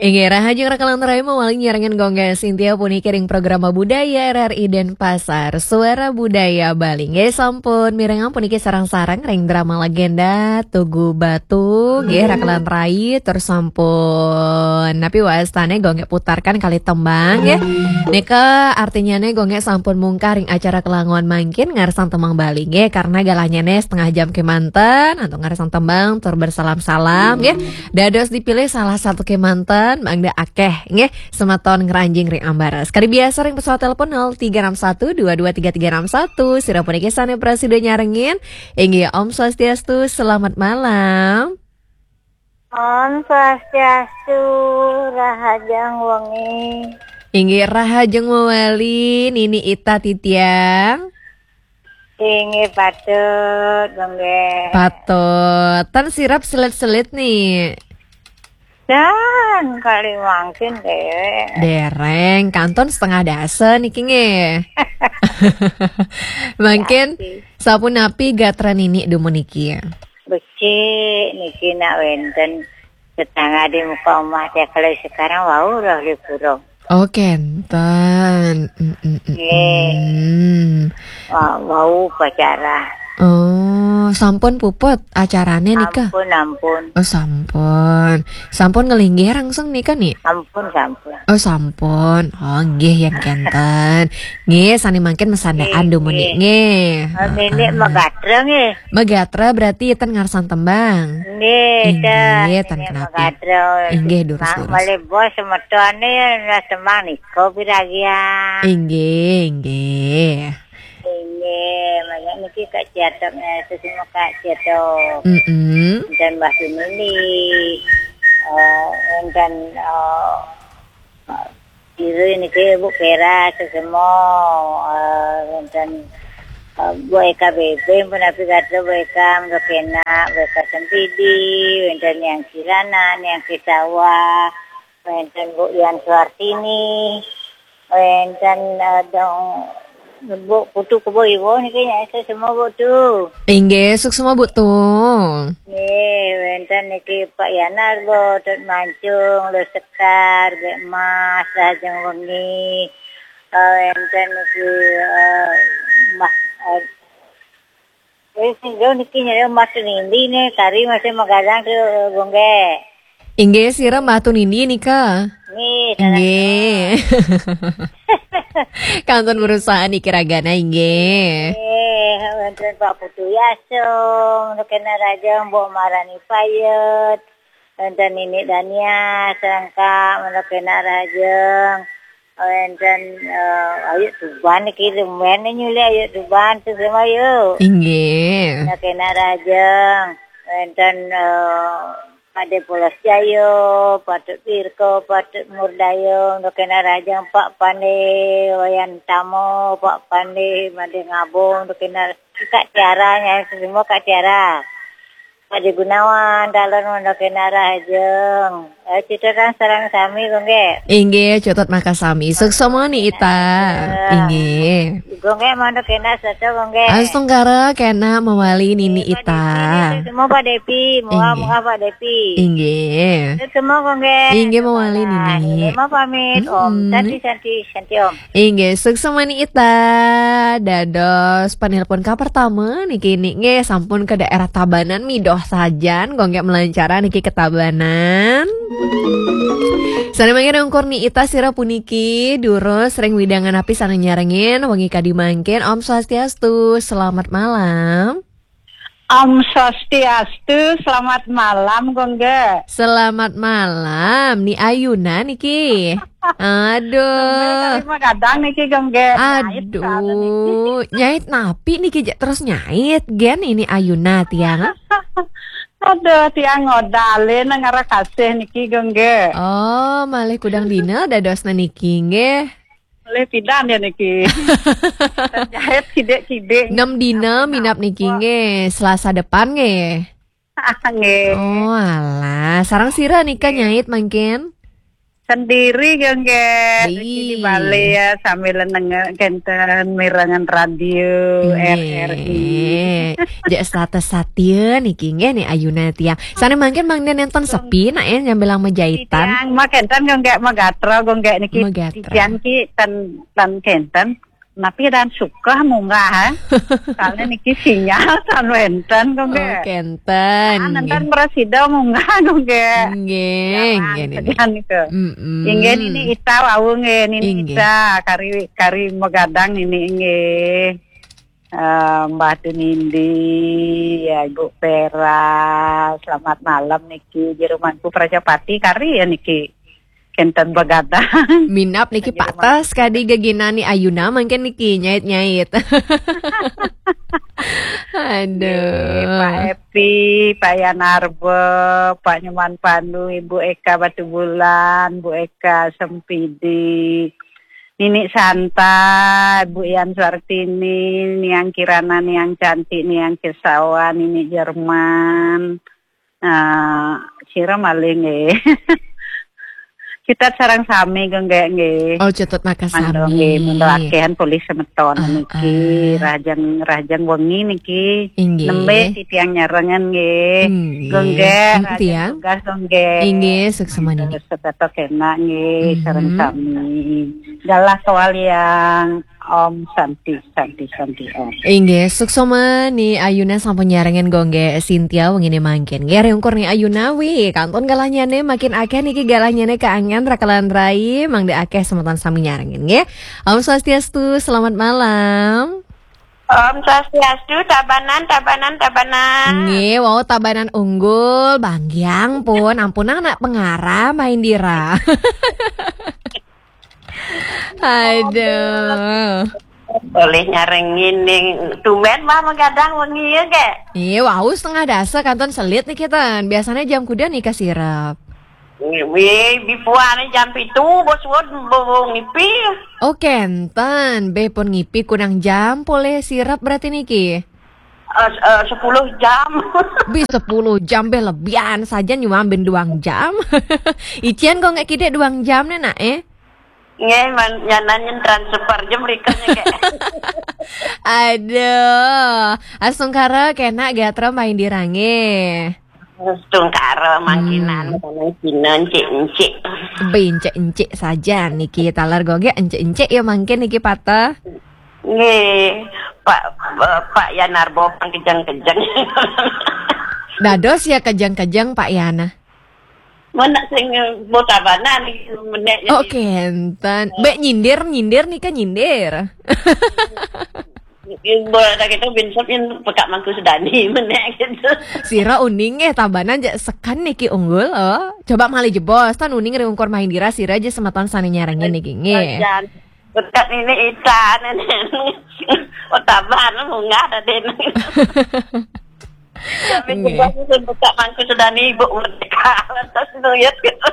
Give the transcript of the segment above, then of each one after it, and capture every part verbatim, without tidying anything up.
Inggih, rahajeng raka lan rai mawali nyarengin Gung Gé Sintia puniki ring programa Budaya R R I Denpasar, Suara Budaya Bali. Nggih, sampun mirengang puniki sareng-sareng ring drama legenda Tugu Batu, nggih, raka lan rai, tur sampun napi wastané Gung Gé putarkan kalih tembang, nggih. Nika artinyané Gung Gé sampun mungkah ring acara kelangon mangkin ngarsang tembang Bali, nggih, karena galanyané setengah jam kémanten, antuk ngarsang tembang, tur bersalam-salam, nggih. Dados dipilih salah satu kémanten, mangda akéh, nggih, semeton ngranjing ring ambara. Sekali biasa ring pesawat telepon nol tiga enam satu dua dua tiga tiga enam satu. Sira puniki sané prasida nyarengin. Inggih, Om Swastiastu, selamat malam. Om Swastiastu, rahajeng wengi. Inggih, rahajeng mawali, Nini Ita titiang. Inggih patut, Gung Gé. Patut. Tan sirep selit-selit nih. Dan kali mangkin déwék. Déréng, kantun setengah dasa niki nggih. Mangkin sapunapi gatra Nini dumun niki? Becik niki nak wénten tetangga di muka omah téh, kalau sekarang wau roh lipurung. Oh, kénten. Mm, mm, mm, Nggih. Mm. Wa-, wau upacara. Oh, sampun puput acarané nika? Ampun, ampun. Oh, sampun. Sampun ngelinggih langsung nika, Ni? Ampun, sampun. Oh, sampun. Oh, nggih, yén kénten. Nggih, sané mangkin masandaan dumun, Ni. Nggih. Nggih. Oh, Nini magatra nggih. Magatra berarti ten ngarsang tembang. Nggih, inggih, ten, ten Nini kenapi. Magatra. Inggih, durus, durus. Malih bos semetoné tembang nika piragian. Inggih, inggih. Inggih, banyak niki Kak Ciatok, eh, sesama Kak Ciatok. Mm-mm. Dan Mbah Sunili. Eh, dan, eh, Kira niki Bu Pera sesama, eh, wénten, eh, Bu Eka Bebe, pun api kata Bu Eka, Mbak Kena, Bu Eka Sempidi, wénten Yang Kirana, Yang Kisawa, wénten Bu Yan Suartini, wénten, eh, dong, Bu Putu Kebo Iwo niki nyai sesama Bu Tu. Inggih, suksma Bu Tu. Nggih, wénten niki Pak Yanar, Bu Tut Mancung, Lu Sekar, Bek Mas, Rahajeng Wengi. Eh, wénten niki, eh, Mas, eh, eh, sing niki nyari Mas Nindi nih, kari masih magadang ke Gung Gé. Inggih, sira Mbah Tunindi nika? Nggih, inggih. Kantun berusaha niki ragana, inggih. Nggih, wénten Pak Putu Yasung, kena rahajeng, Mbok Marani Payet, wénten Nini Dania, sangka, kena rahajeng, wénten, eh, Ayu Tuban niki, lumayan nyulih Ayu Tuban, tu semua yuk. Inggih. Kena rahajeng, wénten, eh, Pade Polos Jayo, Patut Pirko, Patut Murdayo, Ndo Kena Rajang, Pak Pande, Wayan Tamo, Pak Pande, Made Ngabong, Ndo Kena Kak Tiara, nya semua Kak Tiara. Pade Gunawan, Dalon, Ndo Kena Rajang. Eh, cita kan sarang sami, Gung Gé. Inggih, cutet makasami. Suksma Ni Ita. Inggih. Gung Gé, mangda kena sato, Gung Gé. Astungkara kena mawali Nini Ita. Semua Pak Depi, muah, inggih, muah Pak Depi. Inggih. Semua, Gung Gé. Inggih, mawali Nini. Semua pamit, Om. Mm-mm. Santi, Santi, Santi, Om. Inggih, suksma Ni Ita. Dados panelpon ka pertama niki, niki nggih sampun ke daerah Tabanan midoh sajan, Gung Gé melancara niki ke Tabanan. Sané mangkin ungkur Ni Ita sira puniki, durus ring wewidangan api sané nyarengin, wengi kadi mangkin. Om Swastiastu, selamat malam. Om Swastiastu, selamat malam, Gung Gé. Selamat malam, Ni Ayuna niki. Aduh. Gung Gé, kali magadang niki, Gung Gé. Nyait, aduh, niki. Nyait napi niki, ja-, terus nyait, gén Ni Ayuna tiang. Aduh, tiang ngodalin ngarah kasih niki, Gung Gé. Oh, malih kudang dina dadosna niki, nggih. Malih pidan ya niki. Jahit kidik-kidik. Nem dina minab niki, nggih. Selasa depan, nggih. Nggih. Oh, alah. Sareng sira nika nyait mangkin? Sendiri, Gongge. Di balé ya, sambil nengok kenten mirengan radio R R I. Nggih. Jak status satia niki nggih nih ayuna tiang. Sané mangkin mangda nénten sepi nak ya nyambilang majaitan. Tiang mah kenten, Gongge, magatro, Gongge, niki. Magatro. Tiang ki ten, ten kenten. Napi dan suka munggah, ha? Soalnya niki sinyal tan wénten, Gongge. Oh, kenten, nggih. Nénten prasida munggah, Gongge. Nggih, nggih, nggih. Niku. Mm-mm. Inggih, Nini Ita wau nggih, Nini Ita, kari, kari magadang Nini nggih. Eh, Mbah Tunindi, ya, Ibu Vera, selamat malam niki, jeromanku Prajapati kari ya niki. Kenten begadang. Minab niki Pak Tas kadi geginan ni ayuna mangkin niki nyait-nyait. Aduh. Nggih, Pak Epi, Pak Yanarbo, Pak Nyoman Pandu, Ibu Eka Batubulan, Bu Eka Sempidi, Nini Santa, Bu Yan Suartini, Niang Kirana, Niang Cantik, Niang Kesawa, Nini Jerman, Ah, sira malih nggih. Citet sareng sami, Gongge, nggih. Oh, citet maka sami. Mangga nggih, mangga akéhan polih semeton niki. Rahajeng, rahajeng wengi niki. Inggih. Nembé titiang nyarengan nggih. Inggih. Gongge, rahajeng tugas, Gongge. Inggih, suksma niki. Terus tetep enak nggih, sareng sami. Galah kawaliang. Om Santi, Santi, Santi Om. Inggih, suksma ni ayuna sampun nyarengin Gongge Sintia wengine mangkin. Nggih, ring ungkur ni ayuna wi, kantun galahnyane makin akeh niki, galahnyane kaangen rakelan rai, mangda akeh semeton sami nyarengin nggih. Om Swastiastu, selamat malam. Om Swastiastu, Tabanan, Tabanan, Tabanan. Nggih, wau Tabanan Unggul, Banggiang pun, ampunang nak pengarah Mbah Indira. Aduh. Boleh nyarengin ning tumben mah magadang wengi ya, Gek? Iya, wau setengah dasa kantun selit niki ten. Biasanya jam kuda nika sirep? Wih, bipuane jam pitu, bos won, bo-, bo-, ngipi. Oh, kenten. Be pun ngipi kunang jam poleh sirep berarti niki? Eh, s-, eh, sepuluh jam. Bi sepuluh jam be lebihan saja nyuambin duang jam. Ician kok nggak kide duang jam ne, nak, eh? Nggih, man, nyanan nyen transfer jam rikanya, Gek. Aduh, astungkara kena gatra main dirange. Astungkara mangkinan, hmm, kana Cina encik-encik. Be encik-encik saja niki, taler goge encik-encik ya mangkin niki patah. Nggih, Pak, eh, Pak Yanarbo pang kejeng-kejeng. Dados ya kejeng-kejeng Pak Yana. Mana sing botabanan iki menek. Oh, jadi kenten. Mbak nyindir, nyindir nika nyindir. Bola tak itu bin sop yang pekak mangku sedani menek gitu. Sira uning eh Tabanan ja sekan niki unggul, oh. Coba malih jebos, tan uning ring ungkur Mahindira sira ja semeton sane nyarengin niki nggih. Jan. Berkat ini Ita, nenek. Oh, Tabanan munggah tadi. Tapi nggih. Jebos itu pekak mangku sedani Ibu Merdeka. Lantas nuyut gitu.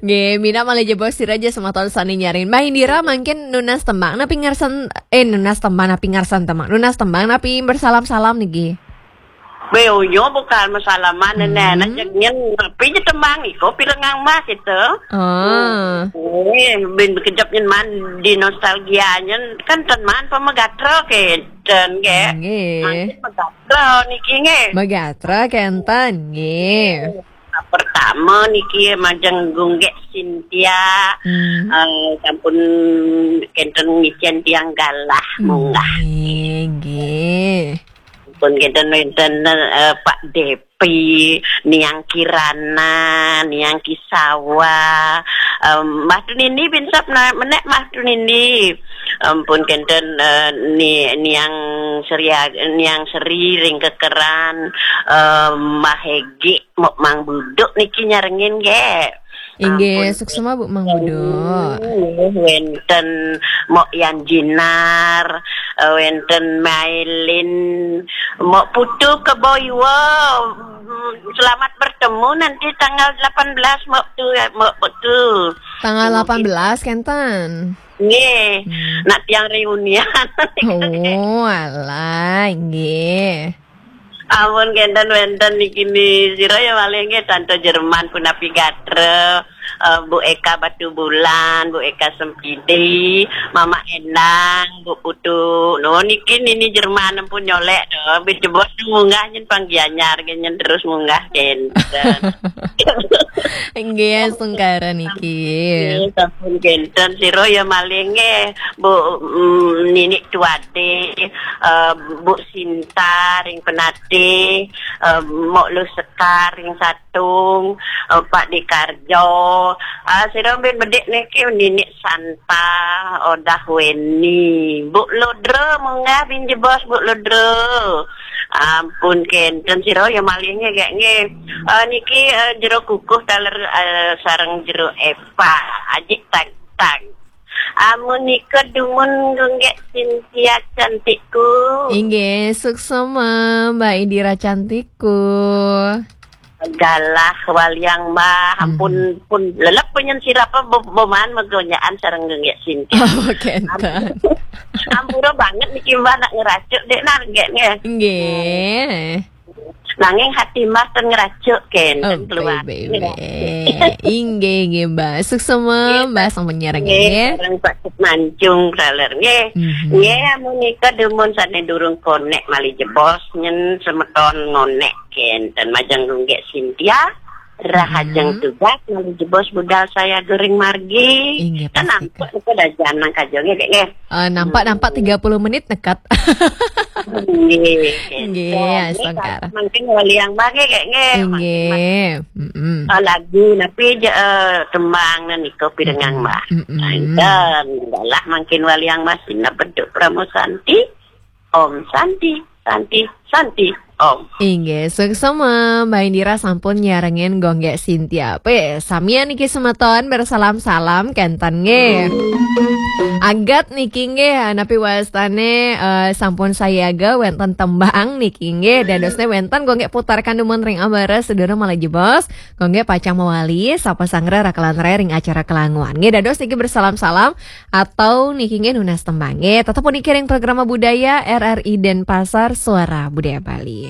Nggih, minab malih jebos sira ja semeton sane nyarengin. Mahindira mangkin nunas tembang napi ngarsan, eh, nunas tembang napi ngarsan tembang. Nunas tembang napi bersalam-salam niki. Be unyo bukan masalaman, hmm, nenek, anak jek nyen, tapi je tembang iko pirengang mah gitu. Oh. Eh, bin bekejap nyen man di nostalgia nyen, kan ten man pemegatra kenten, Gek. Nggih. Mangkin megatra niki, nggih. Megatra kenten, nggih. Nah, pertama niki majeng Gunggek Sintia, hmm, eh, sampun kenten ngicen tiang galah, hmm, munggah. Nggih, nggih. Pun kenten wenten, eh, Pak Depi, Niang Kirana, Niang Kisawa, em, Mbah Tunindi bin sop na-, menek Mbah Tunindi. Em, pun kenten, eh, ni-, Niang Seria-, Niang Seri ring kekeran, em, Mbah Hegi, Mok Mang Buduk niki nyarengin, Gek. Inggih, ampun. Suksma Bu Mang Buduk. Wenten Mok Yan Jinar, eh, wenten Mailin, Mok Putu Keboiwa. Selamat bertemu nanti tanggal delapan belas, Mok Tu, ya, Mok Putu. Tanggal delapan belas kenten. Nggih. Hmm. Nak tiang reunian. Oh, alah, nggih. Ampun kenten wenten niki ni sira ya malih nggih Tante Jerman punapi gatra, eh, Bu Eka Batubulan, Bu Eka Sempidi, Mama Endang, Bu Putu. No, niki nini Jerman pun nyolek to. Bin jebos munggah nyen pang Gianyar nyen terus munggah kenten. Nggih, sungkara niki. Nggih, sampun kenten sira ya malih nggih. Bu mm, Ninik Tuade, eh, Bu Sinta ring Penatih, eh, Mok Lu Sekar ring Satung, eh, Pak Dikarjo. Ah, sira bin bedik niki Ninik Santa, Odah Weni. Bu Ludra munggah bin jebos Bu Ludra. Ampun kenten sira ya malih nggih gek nggih. Eh, niki eh, jero kukuh taler eh, sareng jero epa. Ajik tag-tag. Amun nika dumun gunggek Cynthia cantikku. Inggih, suksma Mbak Indira cantikku. Galah waliang Mbah, ampun pun lelep penyen sirapa be- boman megonyaan sareng gunggek Cynthia. Oh, kenten. Ampura banget niki Mbah nak ngeracuk dek nah gek nggih. Nggih. Nanging hati Mbah ten ngeracuk kenten Oh, keluar. baik, baik, baik. Inggih, inggih, Mbak. Suksma, Mbak, sampun nyarengin Nggih, nggih. sareng Pak Mancung taler nggih. Mhm. Nggih, amun nika dumun sane durung konek malih jebos nyen semeton ngonek kenten majeng gunggek Cynthia. Rahajeng tugas malih jebos budal saya goreng margi. Inggih, Kan pasti, nampak nika dajan nang kajonge dek nggih. Eh, nampak-nampak tiga puluh menit nekat. Nggih. Nggih, Kenten. Astungkara. Mangkin waliang Mbah nggih gek nggih. Inggih. Mm-mm. Ah, lagu napi je eh, tembang nika pirengang Mbah. Mm-mm. Enten dalah mangkin waliang Mbah sineb beduk Pramu Santi. Om Santi, Santi, Santi, Om. Inggih, suksma Mbak Indira sampun nyarengin gunggek Cynthia. Pe, samian niki semeton bersalam-salam kenten nggih. Agat niki nggih, napi wastane eh, sampun sayaga wenten tembang niki nggih. Dadosne wenten gunggek putarkan dumun ring ambara sedurung malih jebos. Gunggek pacang mawali, sapa sanggra rakelan raya ring acara kelanguan. Nggih, dados niki bersalam-salam atau niki nggih nunas tembang nggih. Tetep puniki ring programa budaya R R I Denpasar, Suara Budaya Bali.